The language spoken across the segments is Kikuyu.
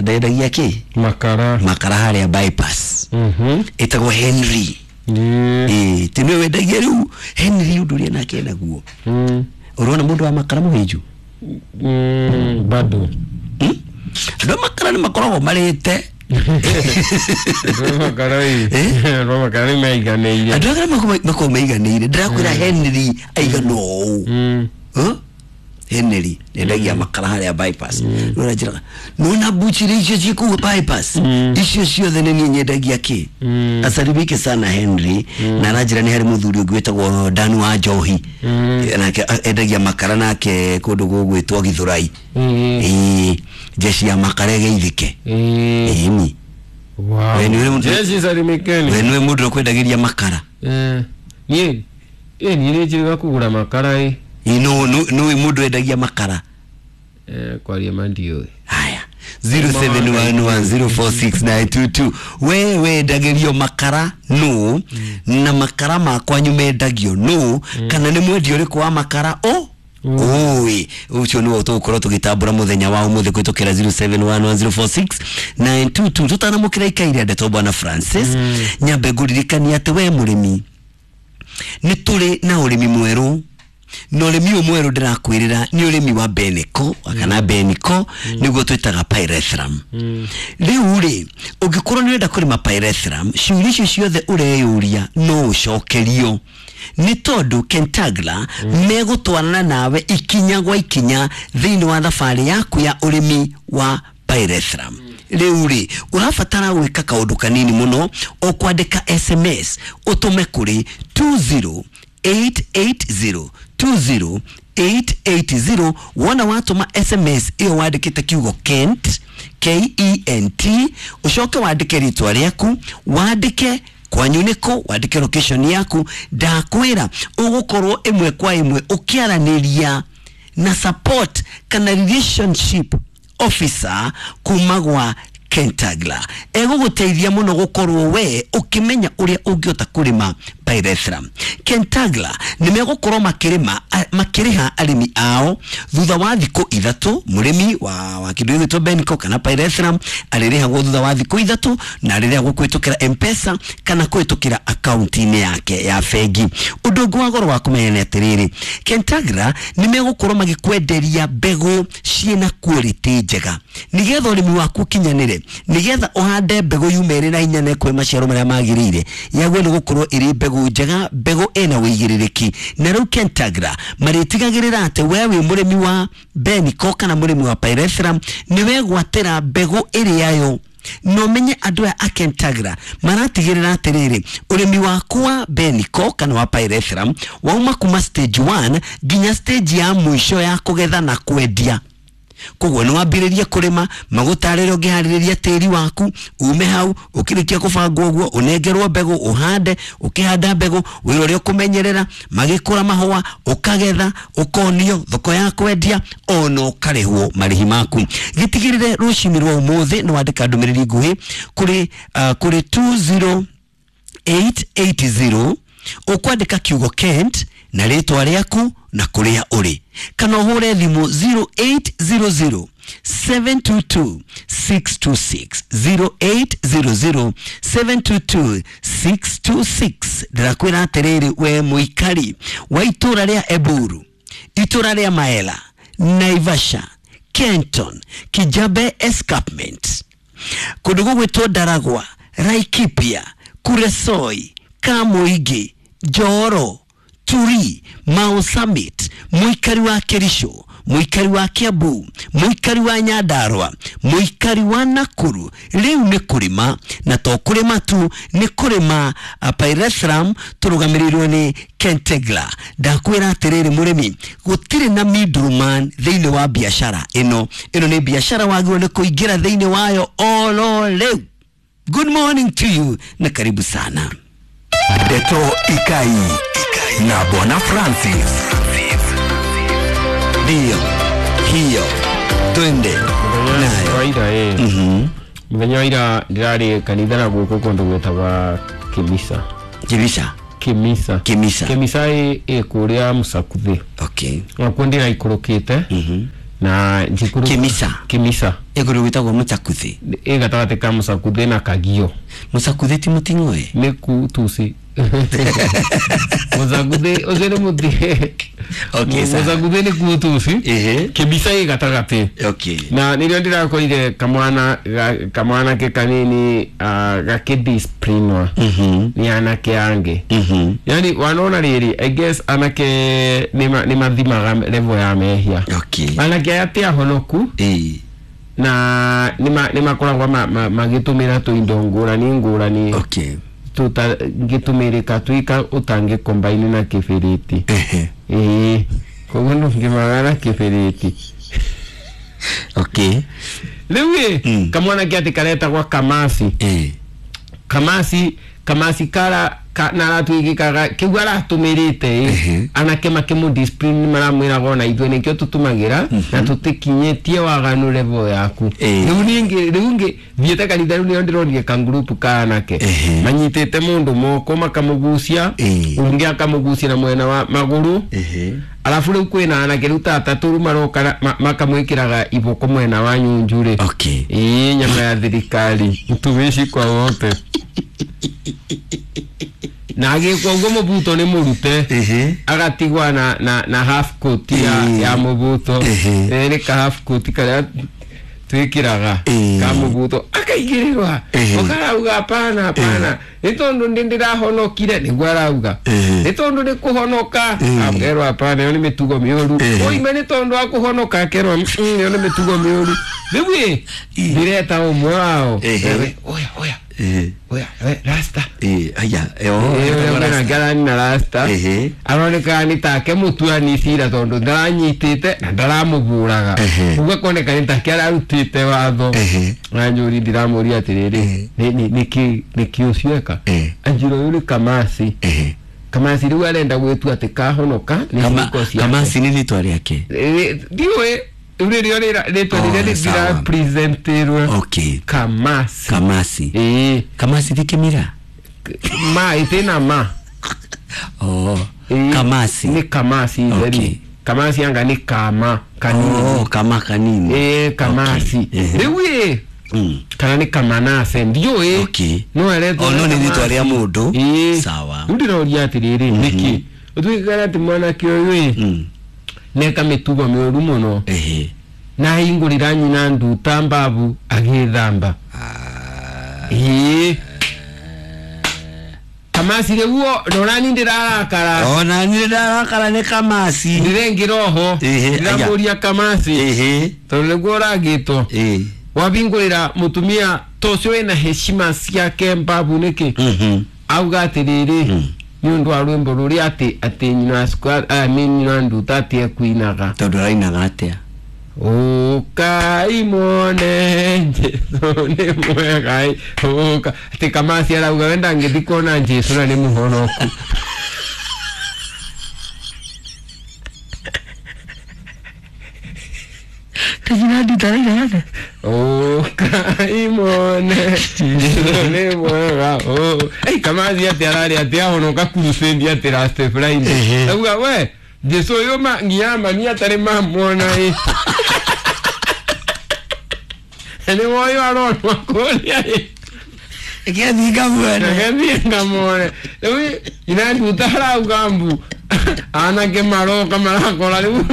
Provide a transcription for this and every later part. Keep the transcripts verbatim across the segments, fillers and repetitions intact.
Ndendagia ki Makara. Makara haria bypass. Mhm. Etagwo Henry. Ĩĩ. Ĩĩ, ti nĩwe wendagia rĩu Henry ũndũ ũrĩa nake enaguo. Mm. Ũrona mũndũ wa makara mũhĩnju? Mm, bado. Hmm? Andũ a makara nĩ makoragwo marĩte. Andũ a makara ĩ. Eh? Andũ a makara nĩ maiganĩire. Andũ a makara makoragwo maiganĩire. Ndĩrakwĩra Henry aigana ũũ. Mm. Huh? Henry endagia makara haria bypass. Nona njĩraga nona buchiri icio ciĩ kũu bypass. Mm. Icio ciothe nĩ niĩ nyendagia kĩ. Mm. Asalimike sana Henry. Na aranjĩra nĩ harĩ mũthuri ũngĩ wĩtagwo Dan wa Njohi. Mm. Nake endagia makara nake kũndũ gũgwĩtwo Githurai. Ĩĩ. Ĩĩ, jeshi ya makara ĩgeithĩke. Ĩĩ. Ĩni. Wow. We nĩwe mũndũ- Jeshi salimikeni. We nĩwe mũndũ ũrĩa ũkwendagĩria makara. Eh. Niĩ ĩ niĩ nĩ njĩrĩga kũgũra makara ĩ. Ĩĩ, nũ nũ- nũĩ mũndũ wendagia makara. Eh, kwaria ma ndiũĩ. Haya, zero seven one one zero four six nine two two. We wendagĩrio makara nũ, na makara makwanyu mendagio nũ, kana nĩ mwendia ũrĩkũ wa makara o ũĩ ũcio nĩwe tũgũkorwo tũgĩtambũra mũthenya wa ũmũthĩ kũhĩtũkĩra zero seven one one zero four six nine two two. Tũtanamũkĩra ikaire ndeto bwana Francis, nyambe ngũririkania atĩ we mũrĩmi nĩ tũrĩ na ũrĩmi mwerũ, na ũrĩmi ũyũ mwerũ ndĩrakwĩrĩra nĩ ũrĩmi wa Beneko kana Beniko, nĩguo twĩtaga pyrethrum. Rĩu rĩ, ũngĩkorwo nĩ ũrenda kũrĩma pyrethrum, ciũria icio ciothe ũreyũria no ũcokerio nĩ tondũ Kentagla megũtwarana nawe ikinya gwa ikinya thĩinĩ wa thabarĩ yaku ya ũrĩmi wa pyrethrum. Rĩu rĩ, ũrabatara gwĩka kaũndũ kanini mũno, o kwandĩka S M S ũtũme kũrĩ two zero eight eight zero two zero eight eight zero. Wona watũma S M S ĩyo wandĩkĩte kiugo Kent, K E N T, ũcoke wandĩke rĩtwa rĩaku, wandĩke kwanyu nĩkũ, wandĩke location yaku. Ndakwĩra ũgũkorwo ĩmwe kwa ĩmwe ũkĩaranĩria na support kana relationship officer kuma gwa Kentagla. Egũgũteithia mũno gũkorwo we ũkĩmenya ũrĩa ũngĩhota kũrĩma pyrethrum. Kentagla nĩ megũkorwo makĩrĩma, a-, makĩrĩha arĩmi ao thutha wa thikũ ithatũ. Mũrĩmi wa, wa kĩndũ gĩgwĩtwo Beniko kana pyrethrum arĩrĩhagwo thutha wa thikũ ithatũ, na arĩrĩhagwo kũhĩtũkĩra M-Pesa kana kũhĩtũkĩra akaunti-inĩ yake ya bengi. Ũndũ ũngĩ wa goro wa kũmenya nĩ atĩrĩrĩ, Kentagla nĩ megũkorwo magĩkwenderia mbegũ ciĩna quality njega nĩgetha ũrĩmi waku ũkinyanĩre, nĩgetha ũhande mbegũ yume ĩrĩ na hinya na ĩkũhe maciaro marĩa magĩrĩire. Yagwo nĩ gũkorwo ĩrĩ mbegũ njega, mbegũ ĩna ũigĩrĩrĩki. Na rĩu Kentagra marĩtigagĩrĩra atĩ we wĩ mũrĩmi wa Beniko kana mũrĩmi wa pyrethrum nĩ wegwatĩra mbegũ ĩrĩa yo. No menye andũ aya a Kentagra maratigĩrĩra atĩrĩrĩ, ũrĩmi waku wa Beniko kana wa pyrethrum wauma kuma stage one nginya stage ya mũico ya kũgetha na kwendia. Koguo nĩ wambĩrĩrie kũrĩma, magũtarĩre ũngĩharĩrĩria tĩri waku, ume hau, ũkĩrĩkia kũbangwo ũguo, ũnengerwo mbegũ, ũhande, ũkĩhanda mbegũ, wĩra ũrĩa ũkũmenyerera, magĩkũra mahũa, ũkagetha, ũkonio thoko ya kwendia, ona ũkarĩhwo marĩhi maku. Gĩtigĩrĩre rũcinĩ rwa ũmũthĩ nĩ wandĩka ndũmĩrĩri nguhĩ kũrĩ, uh, kũrĩ two zero eight eight zero, ũkwandĩka kiugo Kent na rĩtwa rĩaku na kũrĩa ũrĩ, kana ũhũre thimũ zero eight zero zero seven two two six two six, zero eight zero zero seven two two six two six. Ndĩrakwĩra atĩrĩrĩ, we mũikari wa itũra rĩa Eburu, itũra rĩa Maela, Naivasha, Kenton, Kijabe Escarpment, kũndũ gũgwĩtwo Ndaragwa, Laikipia, Kuresoi, Kamuigi, Njoro, Turi, Mau Summit, mũikari wa Kericho, mũikari wa Kiambu, mũikari wa Nyandarua, mũikari wa Nakuru, rĩu nĩ kũrĩma, na to kũrĩma tu, nĩ kũrĩma, uh, pyrethrum tũrũgamĩrĩirwo nĩ Kentegla. Ndakwĩra atĩrĩrĩ mũrĩmi, gũtirĩ na middleman thĩinĩ wa biashara ĩno. Ĩno nĩ biashara wagĩrĩirwo nĩ kũingĩra thĩinĩ wayo oro rĩu. Good morning to you na karibu sana. Ndeto Ikai na Bwana Francis. Ndio hiyo, twende nayo. Kawaida, eh. Mhm. Mũthenya wa ira ndĩrarĩ kanitha na gũkũ kũndũ gwĩtagwa Kĩmisa. Kĩmisa? Kĩmisa. Kĩmisa. Kĩmisa ĩ, ĩ kũrĩa Mũsakuthĩ. Okay. Nakuo ndĩraikũrũkĩte. Mhm. Na njikuru Kimisa. Kimisa Ĩkũndũ gwĩtagwo Mũchakuthi. Ĩ gatagatĩ ka Mũcakuthĩ na Kagio. Mũcakuthi ti Mũting'oe? Nĩ ku tusi Mũcakuthĩ ũcio nĩ mũti. Okay, sawa. Mũcakuthĩ nĩ ku tusi. Ehe. Kimisa ĩ gatagatĩ. Okay. Na nĩrĩo ndĩrakorire kamwana ga- kamwanake kanini ah, gakĩdisciplinwa Mhm. nĩ anake angĩ. Mhm. Yani wanona rĩrĩ, I guess anake nĩ nĩ mathimaga level ya mehia. Okay. Anake aya ti ahonoku Ĩĩ. na nĩ nĩ makoragwo ma- ma- magĩtũmĩra tũindo ngũrani ngũrani Okay. tũtangĩtũmĩrĩka tuika ũtangĩ combine na kĩbĩrĩti. Ehe. Ĩĩ, koguo ndũngĩmaga na kĩbĩrĩti. Okay. Rĩu ĩ Mm. kamwana ke atĩ karetagwa Kamasi. Ĩĩ. Kamasi Kamasi kara ka, na aratuĩkĩkaga kĩu aratũmĩrĩte ĩ Ehe. anake makĩmũ discipline maramwĩraga ona ithuĩ nĩkĩo tũtũmagĩra na tũtikinyĩtie waganu level yaku. Ĩĩ. Rĩu ningĩ rĩu ngĩ thiĩte kanitha rĩu nĩo ndĩronire kangurupu ka anake Ehe. manyitĩte mũndũ moko makamũgucia, Ĩĩ. ũngĩ akamũgucia na mwena wa magũrũ. Ehe. Arabu rĩu kwĩna anake rĩu ta atatũ rĩu maroka na- ma- makamwĩkĩraga iboko mwena wa nyunju rĩ. Okay. Ĩĩ, nyama ya thirikari mtumishi kwa wote na agĩkwo ũguo mũbuto nĩ mũrute. Ehe. Agatigwa na, na, na half coat ya, Ĩĩ. ya mũbuto. Ehe. Ĩĩ, nĩ ka half coat karĩa twĩkĩraga Ĩĩ. ka mũbuto akaigĩrĩrwa. Ehe. Ũkarauga hapana hapana, nĩ tondũ ndĩ ndĩrahonokire nĩguo arauga. Ehe. Nĩ tondũ nĩ kũhonoka. Ĩĩ. Akerwo hapana, ĩyo nĩ mĩtugo mĩũru. Ehe. Oime nĩ tondũ wa kũhonoka, akerwo "Mm, ĩyo nĩ mĩtugo mĩũru." Rĩu ĩ Ĩĩ. ndĩreta ũmwe wao. Ehe. Ewe, oya oya Ehe. oya we rasta. Ĩĩ, aya. Ĩĩ, ũrĩa kwĩna ngarani na rasta. Ehe. Aroneka nĩ take mũtuani cira tondũ ndaranyitĩte na ndaramũbũraga. Ehe. Ũguo akoneka nĩ take ararutĩte watho. Ehe. Anjũri ndiramũria atĩrĩrĩ, Ehe. nĩ- nĩ- nĩkĩ nĩkĩ ũcio eka. Ehe. Anjĩra ũyũ nĩ Kamasi. Ehe. Kamasi rĩu arenda gwĩtua atĩ kahonoka nĩ Kama ciĩko ciake. Kamasi nĩ rĩtwa rĩake. Ĩ, ndiũĩ rĩu nĩrĩo rĩra- rĩtwa Oh, rĩrĩa sawa. ndĩrapresentirwe. Okay. Kamasi. Kamasi. Ĩĩ. Kamasi ti Kĩmira? Ma ĩtĩna ma. Oh. Ĩĩ, Kamasi. Nĩ Kamasi Okay. itheri. Kamasi anga nĩ kama kanini. Oh, kama kanini. Ĩĩ, Kamasi. Okay. Ehe. Rĩu ĩ Mm. kana nĩ Kamanase ndiũĩ. Okay. No aretwo Oh, no nĩ rĩtwa rĩa mũndũ. Ĩĩ. Sawa. Rĩu ndĩroria atĩrĩrĩ, nĩkĩ ũtuĩkaga atĩ mwanake ũyũ ĩ Mm. neka mĩtugo mĩũru mũno Ehe. na ahingũrĩra nyina nduta mbabu agĩthamba. Ĩĩ, Kamasi rĩu ndorani ndĩrarakara. Ona nĩ ndarakara nĩ Kamasi. Ndĩrengĩra oho. Ehe, aya. Ndĩramũria Kamasi, Ehe. tondũ nĩguo ũragĩtwo Ĩĩ. wabingũrĩra mũtumia ta ũcio wĩna heshima ciake mbabu nĩkĩ. Mhm. Auga atĩrĩrĩ, nĩ ũndũ wa rwĩmbo rũrĩa atĩ atĩ nyina wa squad- ah, nĩ nyina wa nduta atĩ ekuinaga. Tondũ arainaga atĩa? Ũkai muone Jesũ nĩ mwega ĩ, ũka atĩ Kamasi arauga we ndangĩthiĩ kuona Jesũ na nĩ mũhonoku. Nyina nduta arainaga atĩa? Ũkai muone Jesũ nĩ mwega ũ. Ei, Kamasi atĩ ararĩ atĩ ahonoka crusade atĩ last Friday. Ehe. Auga we Jesũ ũyũ ma nginya mami atarĩ mamuona ĩ nĩ woyũ aronwo kũrĩa ĩ. Gĩathiĩ ngamuone. Ngathiĩ ngamwone. Rĩu nyina nduta arauga mbu anake maroka marakora rĩu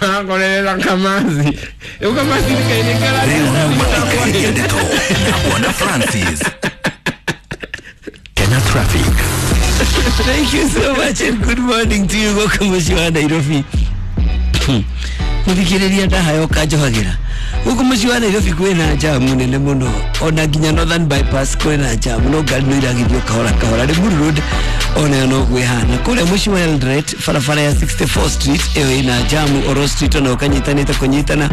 arakorerera Kamasi. Rĩu Kamasi nĩ Maikaria Ndeto na Bwana Francis. Kenya Traffic. Thank you so much and good morning to you gũkũ mũciĩ wa Nairobi. Mũthikĩrĩria ndahayo kanjohagĩra gũkũ mũciĩ wa Nairobi kwĩna jamu nene mũno, ona nginya Northern Bypass kwĩna jamu, no ngari no iragithio kahora kahora. Limuru Road onayo no gwĩhana. Kũrĩa mũciĩ wa Eldoret barabara ya sixty-fourth Street ĩyo ĩna jamu, Oro Street onayo kanyitanĩte kũnyitana,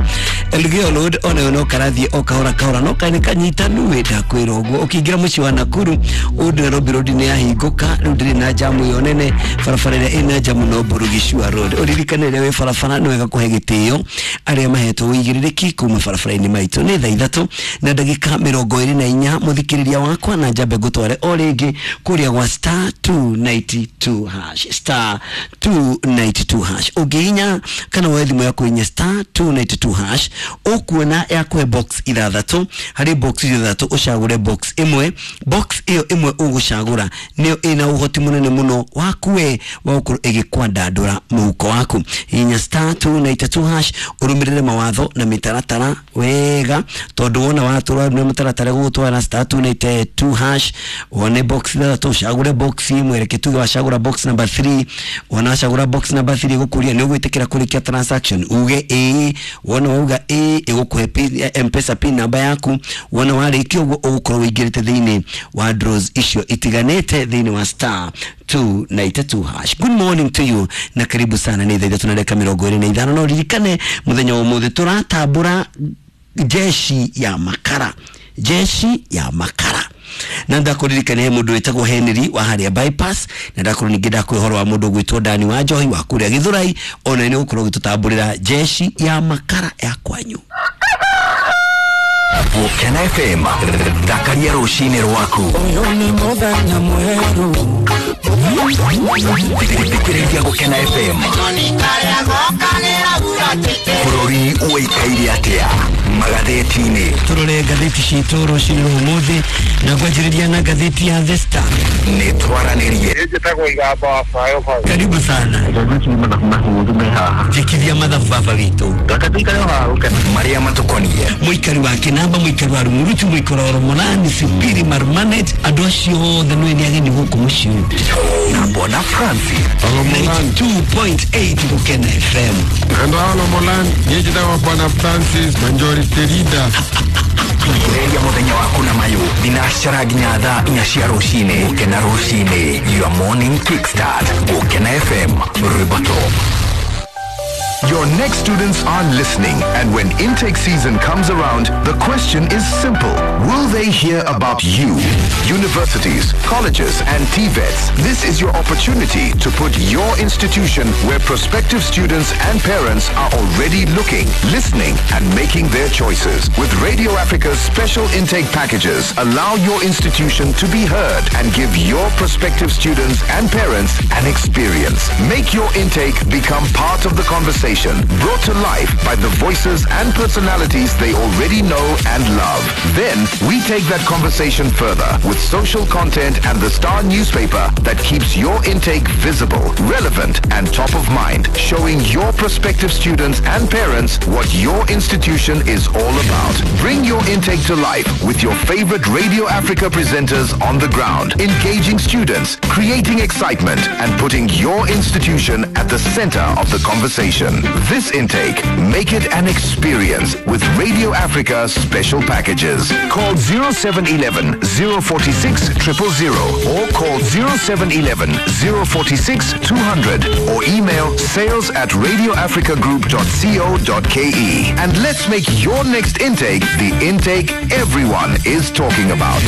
Elgeyo Road onayo no karathiĩ o kahora kahora, no kaĩ nĩ kanyitanu wĩ ndakwĩra ũguo. Ũkĩingĩra mũciĩ wa Nakuru Old Nairobi Road nĩ yahingũka rĩu ndĩrĩ na jamu ĩyo nene. Barabara ĩrĩa ĩna jamu no Burugicua Road. Ũririkane rĩrĩa wĩ barabara nĩ wega kũhe gĩtĩo arĩa mahetwo ũigĩrĩrĩki kuma barabara-inĩ maitũ. Nĩ thaa ithatũ na ndagĩka mĩrongo ĩrĩ na inya mũthikĩrĩria wakwa, na njambe ngũtware o rĩngĩ kũrĩa gwa star two two ninety two hash, star two ninety two hash. Ũngĩhinya kana woe thimũ yaku hinya star two ninety two hash, ũkuona yakũhe box ithathatũ. Harĩ box ithathatũ ũcagũre box ĩmwe. Box ĩyo ĩmwe ũgũcagũra nĩyo ĩna ũhoti mũnene mũno waku we wa gũkorwo ĩgĩkwandandũra mũhuko waku. Hinya star two ninety two hash, ũrũmĩrĩre mawatho na mĩtaratara wega, tondũ wona watũra na mũtaratara gũgũtwara star two ninety two hash, wone box ithathatũ ũcagũre box ĩmwe. Reke tuge wacagũra box number three. Wona wacagũra box number three ĩgũkũria nĩ ũgwĩtĩkĩra kũrĩkia transaction, uge ĩĩ. Wona wauga ĩĩ, ĩgũkũhe pin, M-Pesa pin namba yaku. Wona warĩkia ũguo ũgũkorwo ũingĩrĩte thĩinĩ wa draws icio itiganĩte thĩinĩ wa star two ninety two hash. Good morning to you na karibu sana. Nĩ thaa ithatũ na dakika mĩrongo ĩrĩ na ithano. No ririkane mũthenya wa ũmũthĩ tũratambũra jeshi ya makara, jeshi ya makara. Na ndakuririkania he mũndũ wĩtagwo Henry wa harĩa bypass, na ndakorwo ningĩ ndakũhe ũhoro wa mũndũ ũgwĩtwo Dani wa Njohi wa kũrĩa Gĩthũrai, ona nĩ ũgũkorwo ũgĩtũtambũrĩra jeshi ya makara ya kwanyu. Gũkena F M, thakaria rũcinĩ rwaku. Thikĩrĩria Gũkena F M. Bũrũri ũikaire atĩa magathĩti-inĩ? Tũrore ngathĩti citũ rũcinĩ rwa ũmũthĩ, na ngwanjĩrĩria na ngathĩti ya The Star. Nĩ twaranĩrie. Njĩtagwo Igamba wa Bayo Bayo. Karibu sana. Njĩkithia mathabu baba witũ. Marĩa matũkoniĩ. Mũikari wa Kĩnamba, mũikari wa Rumuruti, mũikari wa Romonani, Sipiri, Marmanet, andũ acio othe nĩ nĩ ageni gũkũ mũciĩ ũyũ. Na Bwana Francis. ninety two point eight Gũkena F M. Andũ a Romonani, niĩ njĩtagwo Bwana Francis Majority Leader. Thikĩrĩria mũthenya waku na mayũ thinacara nginya thaa inya cia rũcinĩ. Gũkena rũcinĩ, your morning kickstart. Gũkena F M, rwĩmbo top. Your next students are listening, and when intake season comes around, the question is simple. Will they hear about you? Universities, colleges, and T VETs, this is your opportunity to put your institution where prospective students and parents are already looking, listening, and making their choices. With Radio Africa's special intake packages, allow your institution to be heard and give your prospective students and parents an experience. Make your intake become part of the conversation, brought to life by the voices and personalities they already know and love. Then we take that conversation further with social content and the Star newspaper that keeps your intake visible, relevant, and top of mind, showing your prospective students and parents what your institution is all about. Bring your intake to life with your favorite Radio Africa presenters on the ground, engaging students, creating excitement, and putting your institution at the center of the conversation. This intake, make it an experience with Radio Africa special packages. Call zero seven eleven, zero four six, triple zero or call zero seven eleven, zero four six, two hundred or email sales at radio africa group dot co dot k e. And let's make your next intake the intake everyone is talking about.